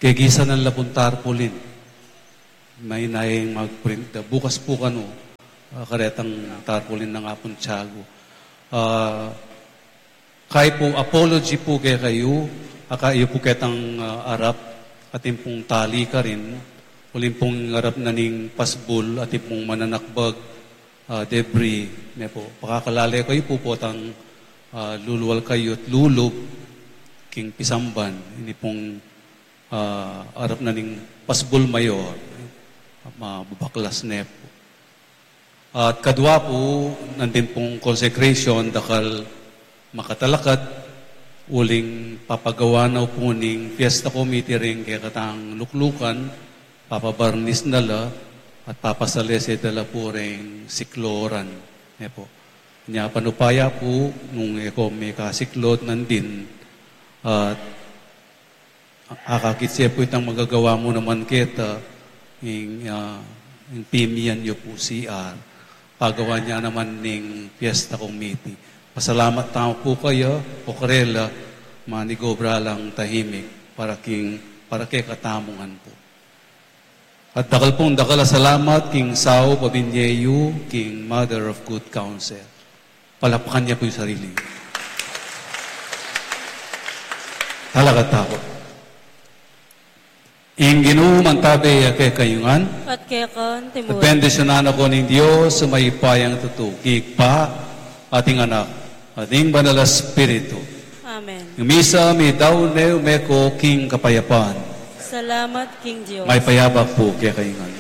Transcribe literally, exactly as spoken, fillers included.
Kegisanan la pung tarpaulin. Maina ing mag-print da. Bukas pu kanu, ah, karetang tarpaulin na nga pung tiagu. Ah, kaya pu, apology pu kekayu, aka yu pu ketang, ah, arap, atin pung tali karin, uling pung arap na ning pasbul, atin pung mananakbag, ah, debris, ne pu. Pakakalale kayu pu potang, ah, lulual kayu at lulub, king pisamban, ini pung ah, arap na ning pasbul mayor, mababaklas ne pu. At kadwa pu, nandin pung consecration, dakal makatalakad, uling papagawa na pu ning fiesta committee ring kekatang luklukan, papabarnis na la, at papasalese da la pu ring sikloran. Ne pu. Nya panupaya pu, nung e ko mekasiklod nandin, at akakit ye pu itang magagawa mu naman keta, ing, ah, ing pimian yu pu C R. Pagawa ne naman ning fiesta committee. Pasalamat tamu pu kaya, o karela, manigobra lang tahimik, para king, para kekatamu ngan pu. At dakal pung dakal a salamat king saup a binye yu, king Mother of Good Counsel. Palakpakan ne pu ing sarili. Talakad tamu pu. Ing Ginu mantabe ya kekayu ngan. At keka naman. At bendisyunan na kayu ning Dios a mayupayang tutu, king Ibpa, at ing Anak, at ing Banal a Espiritu. Amen. Ing misa meyari ne, ume ko king kapayapan. Salamat king Dios. Mayap a abak pu kekayu ngan.